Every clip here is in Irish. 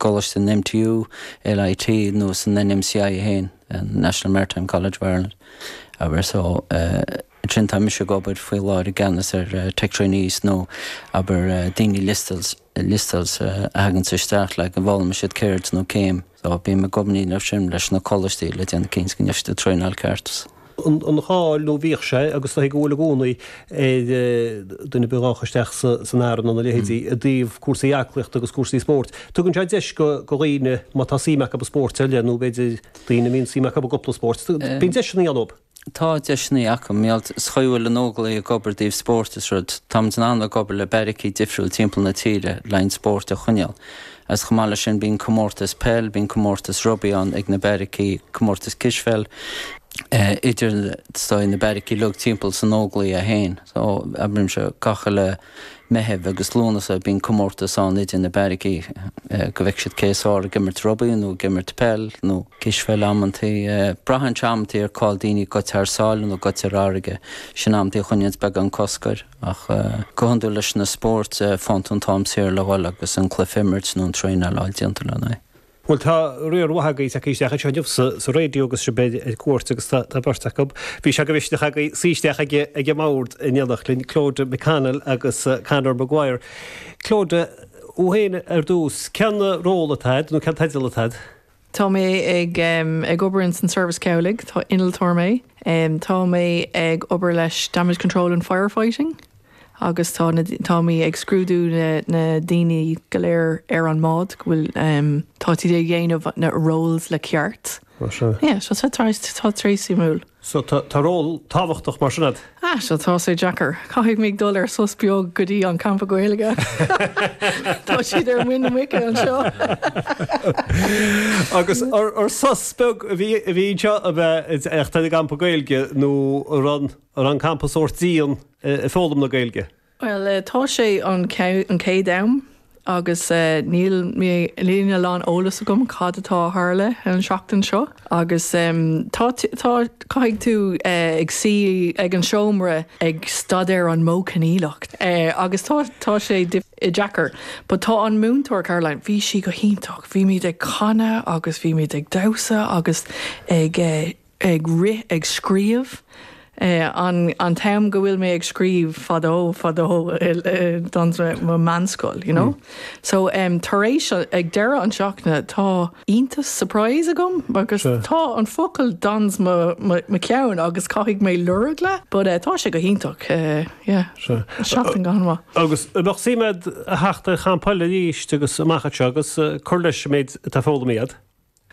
gcoláiste an MTU, LIT nó san NMCI féin, National Maritime College of Ireland, abair. So, ansin tá mise ag obair faoi láthair i gceannas ar tech trainees nó abair daoine liostáilte a thaganns isteach le go bhfoghlaimíonn siad ceird nó céim. So bím ag obair leo sin leis na coláistí le déanamh cinnte go ndéanfaidh siad an traenáil ceart. An cháil nó bhíodh sé agus is dóigh go bhfuil i gcónaí ar duine ar bith a ghabhfadh isteach san arm nó na leithéidí i dtaobh cúrsaí aclaíochta agus cúrsaí spóirt. Tugann sé deis go dhaoine má tá suim acu i spóirt eile nó b'fhéidir daoine a mbíonn suim acu i gcúpla spórt. Bíonn deiseanna ann dóibh. Tá deiseanna acu. Mar sa chaoi a bhfuil an Óglaigh ag obair i dtaobh spóirt is rud, táimid in ann ag obair le beairicí difriúil timpeall na tíre le an spórt a choinneáil. Agus chomh maith leis sin bíonn comórtas peil, bíonn comórtas rugbaí ann ag na beairicí, comórtas cispheil idir na beairicí uilig timpeall san Óglaigh é féin. So, abraimse gach uile Meitheamh agus Lúnasa bíonn comórtas ann idir na beairicí go bhfeicfidh siad cé is fearr ag imirt rugbaí nó ag imirt peil nó cispheil amantaí. Braitheann sé amantaí ar cá'il daoine ag goil thar sáile nó ag goil ar fharraige. Sin amantaí a choinníonns beagán cosc air ach go hiondúil leis na spóirt faigheann tú an t-am saor le dhul agus an cluiche a imirt nó an traenáil a fháil déanta lena aghaidh. Bhuel, tá riar mhaith agaibh tagtha isteach anseo inniu sa raidió agus sibh ar cuairt agus tá beirt acu. Bhí sé de mhisneach agaibh suí isteach ag an mbord in éineacht linn, Clodagh McConnell agus Conor Maguire. Clodagh, thú féin ar dtús, cén ról atá agat nó cén teideal atá agat? Tá mé ag ag obair ins an Service Cabhlaigh, tá innealtóir mé. Tá mé ag obair leis Damage Control and Firefighting. agus tá na tá mé ag scrúdú na na daoine go léir ar an mbád go bhfuil tá siad ag dhéanamh na roles le ceart. Ó sea. Yeah, so tá tá tá sé suimiúil. So tá tá ról tábhachtach mar sin agat. Ah, so tá sé deacair. Caithfidh mé dul ar sos beag go dtí an campa Gaeilge. Tá siad ar muin na muice anseo. Agus ar ar sos beag a bhí a bhí anseo a bheith ag teacht ar an gcampa Gaeilge nó an raibh an raibh an campa sórt dian ag foghlaim na Gaeilge? Bhuel, tá sé an chéad am agus níl mé, níl a lán eolas agam cad atá a tharla an seachtain seo agus tá, tá, caithfidh tú ag suí ag an seomra ag staidéar an modh coinníollach agus tá, tá sé deacair. But tá an múinteoir Caroline, bhí sí go hiontach, bhímid ag canadh agus bhímid ag damhsa agus ag ag rith, ag scríobh. An an t-am go bhfuil mé ag scríobh fadó, fadó don mo meánscoil, you know. So tar éis, ag deireadh an seachtaine, tá iontas, surprise agam agus tá an focal dans mo mo cheann agus caithfidh mé lorg le, but tá sé go hiontach, yeah. Seachtain go han-mhaith. Agus an mbeadh suim agat a theacht ar champa eile arís agus amach anseo agus cur leis an méid atá foghlamtha agat?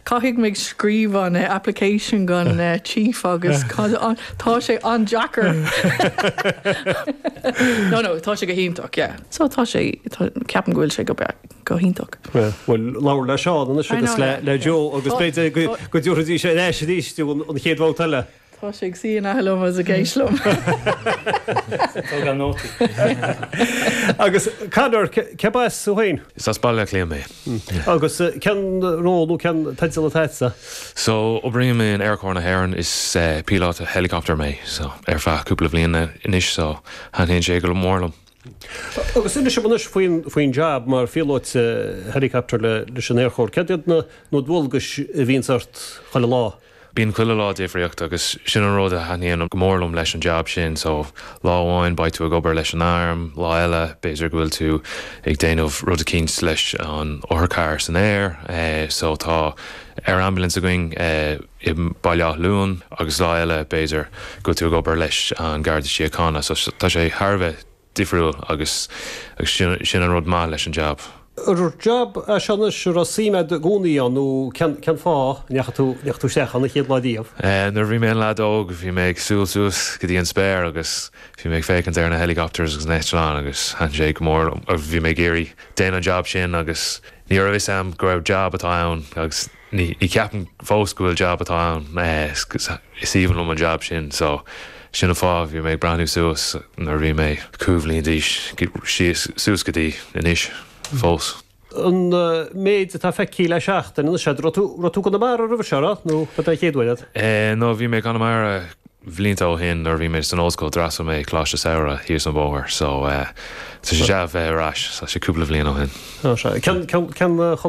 Caithfidh mé scríobh an application don chief agus tá sé an-deacair. No, no, tá sé go hiontach, yeah. So tá sé, ceapaim go bhfuil sé go go hiontach. Bhuel, labhair le Seán anois agus le Joe agus b'fhéidir go dtabharfaidís ar ais arís tú an chéad bhabhta eile. Tá sé ag suí in aice liom agus ag éist liom. Tógáil nótaí. Agus Conor, cérbh as thú féin? Is as Baile Átha Cliath mé. Agus cén ról nó cén teideal atá agatsa? So, oibrím in Aerchór na hÉireann, is píolóta helicopter mé, so, ar feadh cúpla bhliain anois, so, thaitníonn sé go mór liom. Agus inis dom anois faoin faoin jab mar phíolóta helicopter leis an Aerchór. Céard iad na na dualgais a bhíonns ort chuile lá? Bíonn chuile lá difríocht agus sin an rud a thaitníonn go mór liom leis an jab sin. So, lá amháin beidh tú ag obair leis an arm, lá eile b'fhéidir go bhfuil tú ag déanamh rud eicínt leis an otharcharr san aer. So tá air ambulance againn i mBaile Átha Luain agus lá eile b'fhéidir go bhfuil tú ag obair leis an Garda Síochána. So tá sé thar a bheith difriúil agus sin sin an rud maith leis an jab. Ar jab é seo anois a raibh suim agat i gcónaí ann nó cén cén fáth a ndeachaigh tú ndeachaigh tú isteach ann an chéad lá riamh? Nuair a bhí mé ina leaid óg bhí mé ag siúl suas go dtí an spéir agus bhí mé ag féachaint ar na helicopters agus na eitleáin agus thaitin sé go mór liom agus bhí mé ag iarraidh déanamh an jab sin agus ní raibh fhios a'm go raibh jab atá ann agus Ní cheapaim fós go bhfuil jab atá ann. Is aoibhinn liom an jab sin so sin an fáth bhí mé ag breathnú suas nuair a bhí mé cúig bhliain d'aois síos suas go dtí anois fós. An méid atá feicthe le seachtain anois, raibh tú raibh tú i gConamara roimhe seo, raibh? Nó ab é an chéad uair é? No bhí mé i gConamara bhlianta ó shin nuair a bhí mé san ollscoil d'fhreastail mé Coláiste Samhraidh thíos an bóthar so tá sé deas a bheith ar ais, tá sé cúpla bhliain ó shin. Cén cén choláiste?